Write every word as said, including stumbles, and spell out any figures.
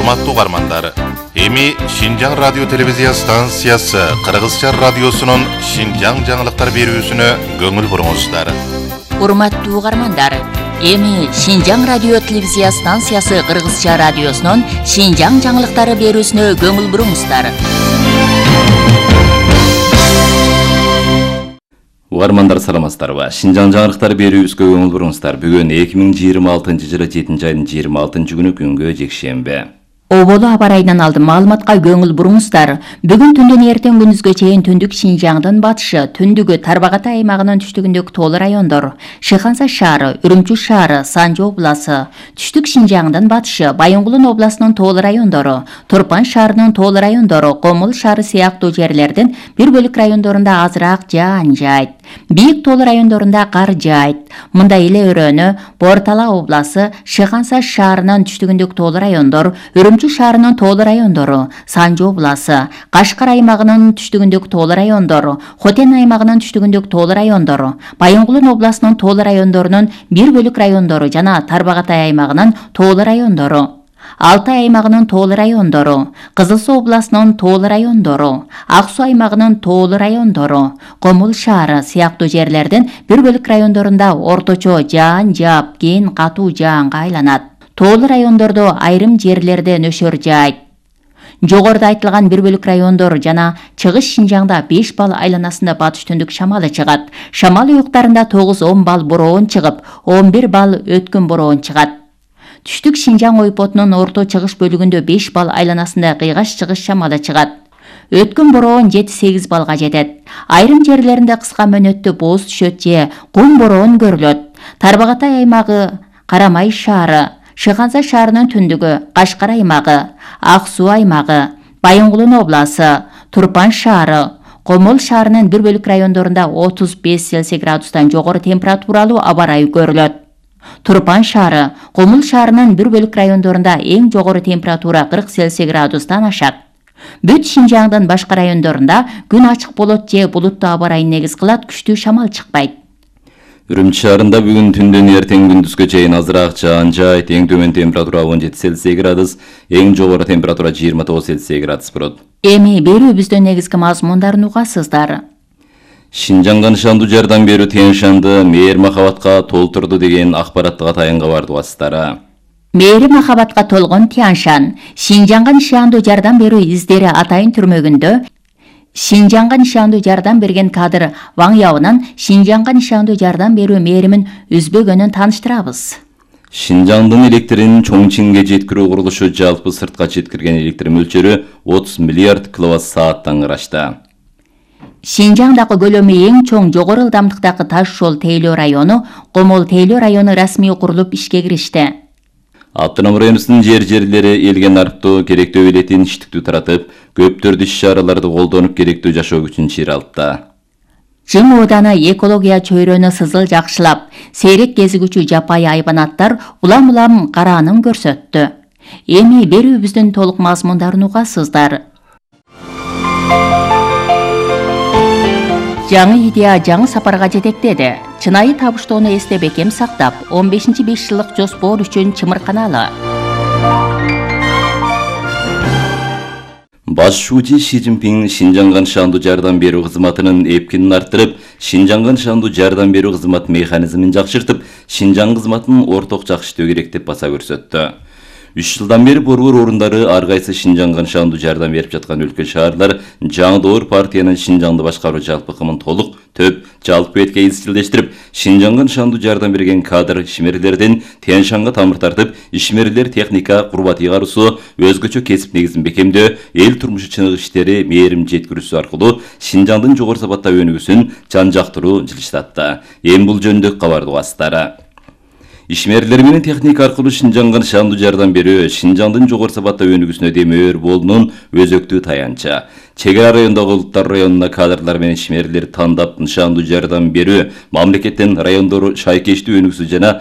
Урматтуу угармандар, эми Шинжаң радио телевизия станциясы Кыргызча радиосунун Шинжаң жаңылыктар берүүсүнө көңүл буруңуздар. Урматтуу угармандар, эми Шинжаң радио телевизия станциясы Кыргызча радиосунун Шинжаң жаңылыктары берүүсүнө көңүл буруңуздар. Угармандар саламатсыздарбы? Шинжаң жаңылыктар берүүбүзгө көңүл буруңуздар. Бүгүн эки миң жыйырма алтынчы жылы жетинчи айдын жыйырма алтынчы күнү күнгө жекшемби. Оболу аба райынан алдым маалыматка көңүл буруңуздар. Бүгүн түндөн эртең күндүзгө чейин түндүк Шинжаңдын батышы, түндүгү Тарбагатай аймагынын түштүгүндөгү тоол райондор, Шыханса шаары, Үрүмчү шаары, Санжы обласы, түштүк Шинжаңдын батышы, Байынгулун областынын тоол райондору, Турпан шаарынын тоол райондору, Комул шаары сыяктуу жерлердин бир бөлүк райондорунда азыраак жаан жайт. Бийик тоол райондорунда кар жайт. Мындай эле өрөөнү Бортала обласы, Шыханса шаарынын түштүгүндөгү тоол райондор, Үрүмчү шаарынын тоол райондору, Санжы обласы, Кашкар аймагынын түштүгүндөгү тоол райондору, Хотен аймагынын түштүгүндөгү тоол райондору, Байынгулун областынын тоол райондорунун бир бөлүк райондору жана Тарбагатай аймагынын тоол райондору, Алтай аймагынын тоол райондору, Кызыл Суу областынын тоол райондору, Ак Суу аймагынын тоол райондору, Комул шаары сыяктуу жерлердин бир бөлүк райондорунда орточо жаан жаап, кийин катуу жаанга айланат. Тоол райондордо айрым жерлерде нөшөр жайт. Жогоруда айтылган бир бөлүк райондор жана Чыгыш Шинжаңда беш балл айланасында батыш түндүк шамалы чыгат. Шамал уюктарында тогуз он балл бороон чыгып, он бир балл өткөн бороон чыгат. Түштүк Шинжаң ойпотунун орто чыгыш бөлүгүндө беш балл айланасында кыйгаш чыгыш шамалы чыгат. Өткөн бороон жети сегиз баллга жетет. Айрым жерлеринде кыска мөөнөттө бооз түшөт же кум бороон көрүлөт. Тарбагатай аймагы, Карамай шаары, Шыханса шаарынын түндүгү, Кашкар аймагы, Ак Суу аймагы, Байынгулун обласы, Турпан шаары, Комул шаарынын бир бөлүк райондорунда отуз беш Цельсий градустан жогору температуралуу аба ырайы көрүлөт. Турпан шаары, Комул шаарынын бир бөлүк райондорунда эң жогору температура кырк Цельсий градустан ашат. Бүт Шинжаңдын башка райондорунда күн ачык болот же булуттуу аба ырайын негиз кылат, күчтүү шамал чыкпайт. Үрүмчү шаарында бүгүн түндөн эртең күндүзгө чейин азыраак жаан жайт, эң төмөн температура он жети Цельсий градус, эң жогору температура жыйырма тогуз Цельсий градус болот. Эми берүүбүздөн негизги мазмундарын угасыздар. Шинжаңга нышандуу жардам берүү Тен Шанды мээр махабатка толтурду деген акпараттык атайынга барды угасыздар. Мээри махабатка толгон Тен Шан, Шинжаңга нышандуу жардам берүү издери атайын түрмөгүндө Шинжаңга нышандуу жардам берген кадр Ваң Яонан Шинжаңга нышандуу жардам берүү мээримин үзбөгөнүн тааныштырабыз. Шинжаңдын электрин Чоңчиңге жеткирүү курулушу жалпы сыртка жеткирген электр мөлчөрү отуз миллиард киловатт сааттан ырашты. Шинжаңдагы көлөмү эң чоң жогору ылдамдыктагы Таш жол тейлөө району, Комол тейлөө району расмий курулуп ишке киришти. Автоном районунун жер-жерлери элген арыптуу керектөө илетин иштиктүү таратып, көптөрдү иш-чараларды колдонуп керектөө жашоо күчүн чыйралтты. Жың ооданы экология чөйрөнү сызыл жакшылап, сейрек кезигүүчү жапайы айбанаттар улам-улам караанын көрсөттү. Эми берүүбүздүн толук мазмундарын угасыздар. Жаңы идея жаңы сапарга жетектеди. Чынайы табыштоону эсте бекем сактап, он бешинчи беш жылдык жоспор үчүн чымырканалы. Баш шүүчү Ши Цзиньпин Шинжаңга нышандуу жардам берүү кызматынын эпкинин арттырып, Шинжаңга нышандуу жардам берүү кызмат механизмин жакшыртып, Шинжаң кызматын орток жакшыртуу керек деп баса көрсөттү. үч жылдан бери борбор орундары ар кайсы Шинжаңга нышандуу жардам берип жаткан өлкө шаарлар жаңдоор партиянын Шинжаңды башкаруу жалпыкымын толук төп жалпы бетке изчилдештирип, Шинжаңга нышандуу жардам берген кадр ишмерлердин Тен Шанга тамыр тартып, ишмерлер техника, курбат ыйгаруусу, өзгөчө кесип негизин бекемдөө, эл турмушу чыныгы иштери мээрим жеткирүүсү аркылуу Шинжаңдын жогору сапаттагы өнүгүүсүн жан-жактыруу жылыштатты. Эми бул жөнүндө кабарды угасыздар. Ишмерлер менен техника аркылуу Шинжаңга нышандуу жардам берүү Шинжаңдын жогору сапаттагы өнүгүүсүнө демөөр болуунун өзөктүү таянчы. Чек ара райондогу улуттар районуна кадрлар менен ишмерлер тандап нышандуу жардам берүү мамлекеттин райондору шайкештүү өнүгүүсү жана